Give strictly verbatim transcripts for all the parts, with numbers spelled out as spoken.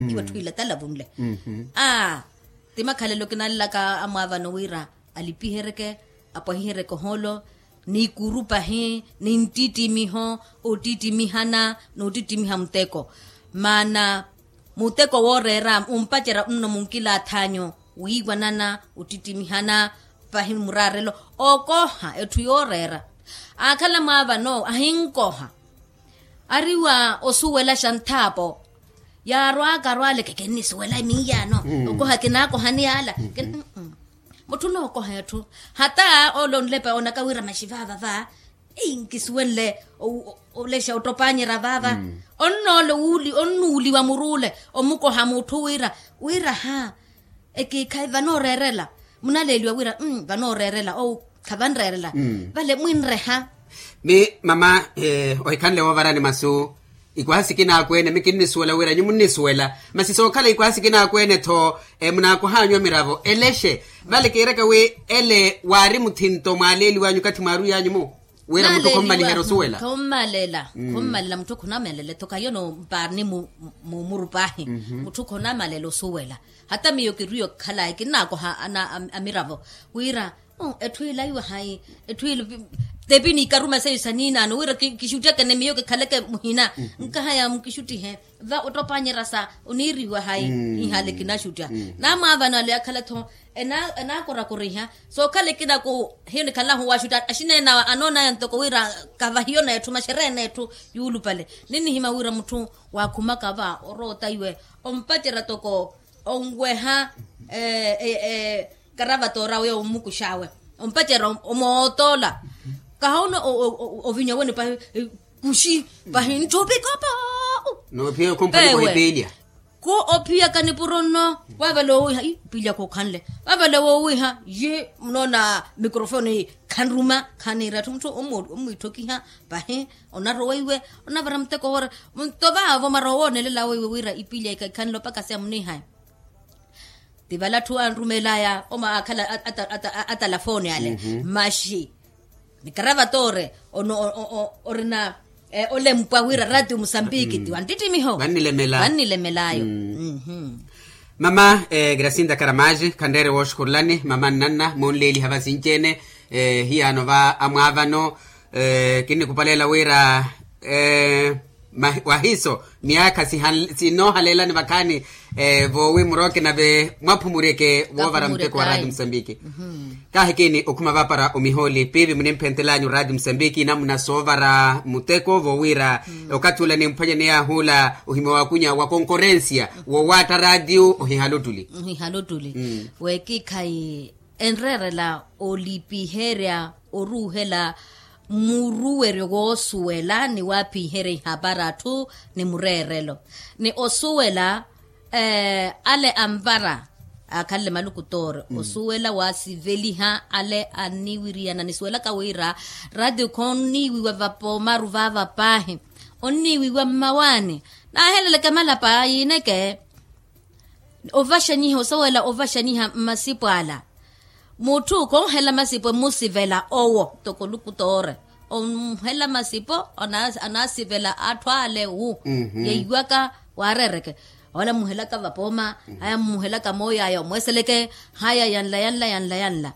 Iwe tthwila talavunle. Aa, ti makhalelo kinalelaka amwaavano wira alipiheryeke, apwahiheryeke ohoolo, n'ikuru pahi n'inttittimiho, ottittimihana n'ottittimiha muteko. Maana muteko wooreera ompacerya nno munkilaathanyu, wiiwanana ottittimihana pahi muraarelo. Okoha etthu yooreera. Aakhala mwaavano ahinkoha. Ariwa osuwelaxa nthaapo. Yaarwaka arwaaleke kinnisuwela miiyano. Okoha kinaakohani yaala. Mutthu onookoha etthu. Hata ole onlepa onaka wira maxi vaava va, nkisuwenle olexa ottopaanyerya vaava. Onnoole onnuuliwa muruule omukoha mutthu wira, wira ha, ekiikhayi vanooreerela. Munaleeliwa wira vanooreerela ou khavanreerela. Vale mwinreha. Mi mama, ohikhanle woovarani masu. Ikwaha sikinaaku-ene mi kinnisuwela wira nyu munnisuwela. Masi sookhala ikwaha sikinaaku-ene tho munaakohanyu amiravo elexe. Vale kiiraka wi ele waari muthinto mwaaleeliwanyu okathi mwaarwiyanyu-mo, wira mutthu khommaliherya osuwela. Khommalela. Khommalela mutthu khonamalela ethoka yono mpaarni. Mumurupahi mutthu khonamalela osuwela. Hata miyo kirwiyo khalayi kinnaakoha amiravo wira etthu ila iwahayi. Etthu ila tepi niikaruma seiyo saniinaano wira kixuttyakene miyo kikhaleke muhina. Nkahaya mukixuttihe va ottopaanyerya sa oniiriwahayi. Ihale kinaxuttya namwaavano ale akhala tho enaakorakoriha. Sookhala ekinaaku hiyo nikhalahu waxutta axineenawe anoonaya ntoko wira kavahiyo neetthu maxereya neetthu yuulupale. Ninnihimya wira mutthu waakhumaka va oroota iwe ompacerya toko onweha karavatoora weyo ommukux'awe ompacerya omootoola. Kahoona ovinya wene pahi kuxi pahi ntthu opikopo. Noophiya khumphani kuhipiilya. Ku ophiyaka nipuro nno. Vavale owiiha ipiilya khukhanle vavale wowiiha yi munoona mikrofoni khanruma. Khaniira atthu mutthu omwiitthokiha pahi onarowa iwe onavara muteko woora. Nto vaavo mara owoonelela weiwe wira ipiilya ikhanle opakasiya muniihaya. Ti vale atthu anrumeelaya omaakhala atalafooni ale maxi nikaravatoore. Orina olempwa wira ratio musambiki ti wanttittimiho vannilemelayo. Mama grasinda karamaji khanreere wooxukhurulani mama nnanna munleeliha vasinci-ene. Hiyaano va amwaavano kinnikupaleela wira wahiiso miyaakha sinoohaleelani vakhaani. Voowi murooke nave mwaphumuryeke woovara muteko wa raati musambiki. Kaahikini okhuma vaapara omihooli piivi munimphentel'anyu raati musambiki namuna soovara muteko voowiira okathi ula nimphwanyani yaahuula ohimya waakunya wa konkorensiya woowaatta raatiyo ohihala ottuli. Weekiikhayi enreerela olipiherya oruuhela muruweryo woosuwela ni waaphiherya ihapari atthu ni mureerelo ni osuwela ale anvara aakhanle malukutoori osuwela waasiveliha ale anniwiriyana nisuwelaka wira ratio khonniiwiwa vapoomaru vaava paahi onniiwiwa mmawaani. Naaheleleke malapa yiineke ovaxanyiha osowela ovaxanyiha mmasipo ala. Mutthu khonhela masipo emmusivela owo toko olukutoore onhela masipo anaasivela atthu ale wu yeiwaka waareereke. Ole amuhelaka vapooma haya amuhelaka mooyo aya omweeseleke haya yanla yanla yanla yanla.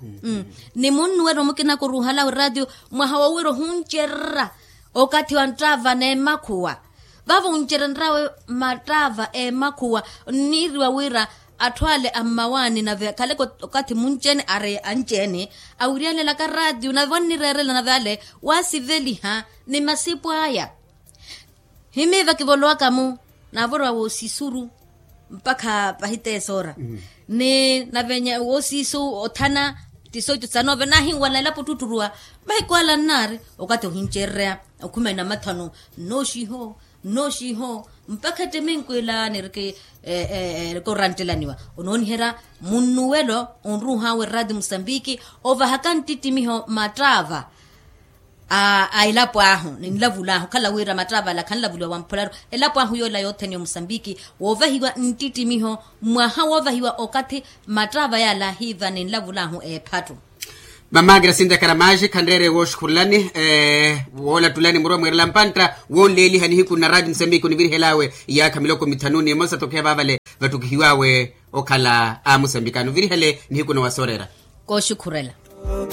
Ni munnuwela omukina kuruuhala wiraatiyo mwaha wowira ohuncererya okathi wa nttaava n'emakhuwa. Vavo oncerenryawe mattaava emakhuwa onniiriwa wira atthu ale a mmawaani nave akhaleke okathi munci-ene ari anci-ene awiryanelaka raatiyo nave wannireerela nave ale waasiveliha ni masipo aya. Himiiva kivolowaka-mo naavorowa woosisuru mpakha pahiteesa ora ni nave woosisu othana tisoitu sa noove naahinwala elapo ottutturuwa. Mahiku ala nnaari okathi ohincererya okhumana mathano nnooxiho nnooxiho mpakha etteminkwilaani erikoorantelaniwa onooniherya munnuwelo onruuh'awe raati musambiki ovahaka nttittimiho mattaava a elapo ahu ni nlavul'ahu okhala wira mattaava ala khanlavuliwa wamphularu elapo ahu yoola yothene ya omusambiki woovahiwa nttittimiho mwaha woovahiwa okathi mattaava yaala ahiiva ni nlavul'ahu eephattu. Mama grasinda karamaxi khanreere wooxukhurulani, woolattulani murwa mwiirela mpantta woonleeliha nihiku na raati musambiki onivirihel'awe iyaakha miloko mithanu n'imosa tokeya vaavale vattukihiw'awe okhala a musambiki anuvirihele nihiku na wasooreera. Kooxukhurela.